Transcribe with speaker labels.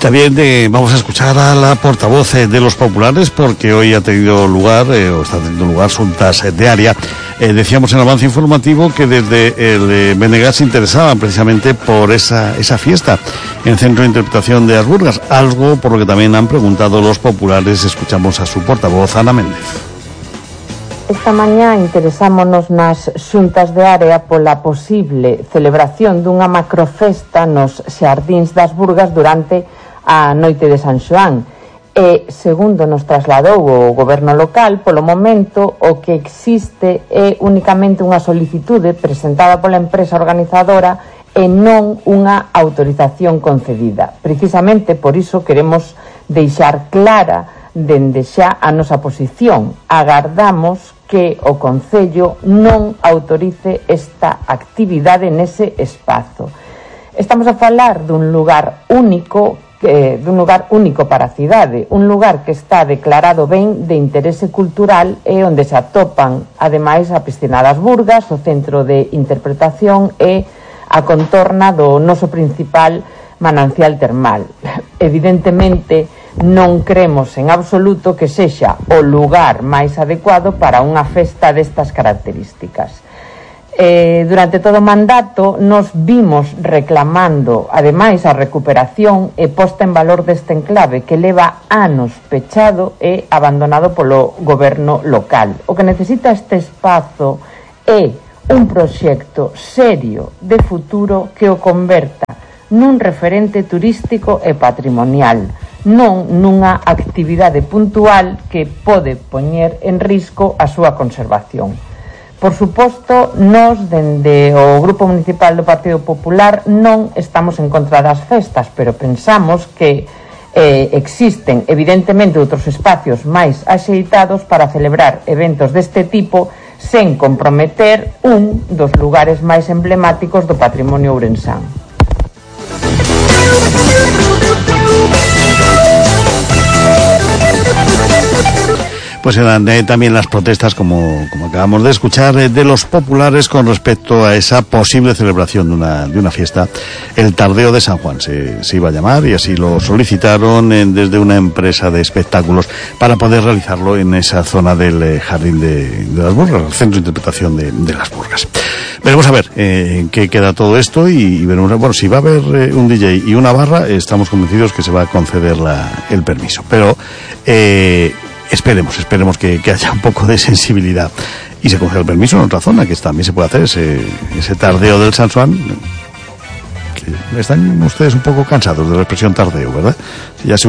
Speaker 1: También vamos a escuchar a la portavoz de los populares, porque hoy ha tenido lugar, o está teniendo lugar, juntas de área. Decíamos en el avance informativo que desde el BNG se interesaban precisamente por esa fiesta en el Centro de Interpretación de As Burgas, algo por lo que también han preguntado los populares. Escuchamos a su portavoz, Ana Méndez.
Speaker 2: Esta mañá interesámonos nas xuntas de área pola posible celebración dunha macrofesta nos xardíns das Burgas durante a noite de San Xoán. E, segundo nos trasladou o goberno local, polo momento o que existe é únicamente unha solicitude presentada pola empresa organizadora e non unha autorización concedida. Precisamente por iso queremos deixar clara dende xa a nosa posición. Agardamos que o Concello non autorice esta actividade nese espazo. Estamos a falar dun lugar único para a cidade, un lugar que está declarado ben de interese cultural e onde se atopan, ademais, a Piscina das Burgas, o Centro de Interpretación e a contorna do noso principal manancial termal. Evidentemente, non cremos en absoluto que sexa o lugar máis adecuado para unha festa destas características. Durante todo o mandato nos vimos reclamando, ademais, a recuperación e posta en valor deste enclave que leva anos pechado e abandonado polo goberno local. O que necesita este espazo é un proxecto serio de futuro que o converta nun referente turístico e patrimonial, non nunha actividade puntual que pode poñer en risco a súa conservación. Por suposto, nós, dende o Grupo Municipal do Partido Popular, non estamos en contra das festas, pero pensamos que existen, evidentemente, outros espacios máis axeitados para celebrar eventos deste tipo sen comprometer un dos lugares máis emblemáticos do patrimonio ourensán.
Speaker 1: Pues eran también las protestas, como acabamos de escuchar, de los populares con respecto a esa posible celebración de una fiesta. El Tardeo de San Juan se iba a llamar, y así lo solicitaron desde una empresa de espectáculos para poder realizarlo en esa zona del Jardín de las Burgas, el Centro de Interpretación de las Burgas. Veremos a ver en qué queda todo esto, y veremos, bueno, si va a haber un DJ y una barra, estamos convencidos que se va a conceder el permiso. Pero Esperemos que haya un poco de sensibilidad y se conceda el permiso en otra zona, que también se puede hacer ese tardeo del San Juan. Que están ustedes un poco cansados de la expresión tardeo, ¿verdad? Ya se